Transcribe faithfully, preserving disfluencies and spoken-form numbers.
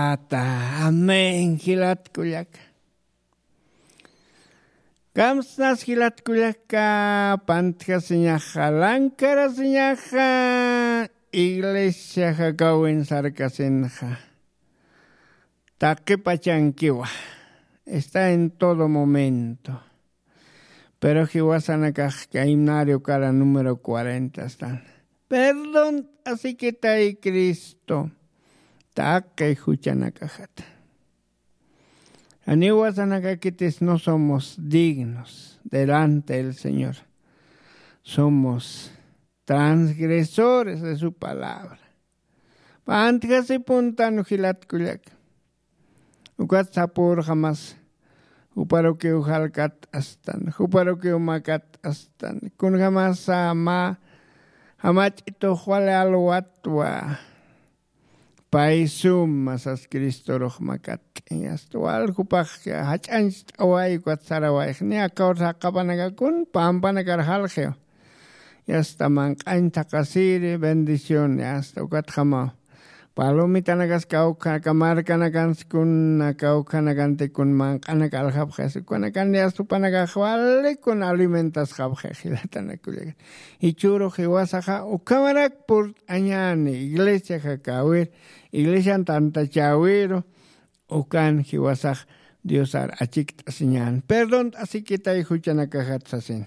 Ata, amén jilatkullaka. Kamsnas jilatkullaka, pantjasiñaxa, lankarasiñaxa, iglesia jakawin sarkasinxa. Taqipachankiwa, está en todo momento. Pero jiwasanakaxka himnario kara número cuarenta están. Perdón, asikitay Cristo, taqi juchanakaxata. Aniwasanakakitis no somos dignos delante del Señor. Somos transgresores de su palabra. Pantjasipuntan jilatkullaka. Ukat sapurxamas, juparukiw jalkat astan, juparukiw makat astan, kunjamasa mä jamach'itux wali alwatwa. Pay suma sas Cristorux makat'in, asta wal jupax jach'añcht'away ukat sarawayx, ni akawr saqapanakakun pampanakar jalxiw. Yasta manq'añ thaqasiri bendición, yasta ukatxamaw. Palomitanakas kawkhanaka markanakanskuna kawkhanakantikun manq'anak aljapxis ukanakan yasta jupanakax walikun alimentasxapxi jilatanakullaka. Jichhürux jiwasaxa ukhamarak purt'añäni iglesia jakäwir, iglesian tantachäwiru. Ukan jiwasax diosar achikt'asiñän, perdont'asikitay juchanakaxat sasin.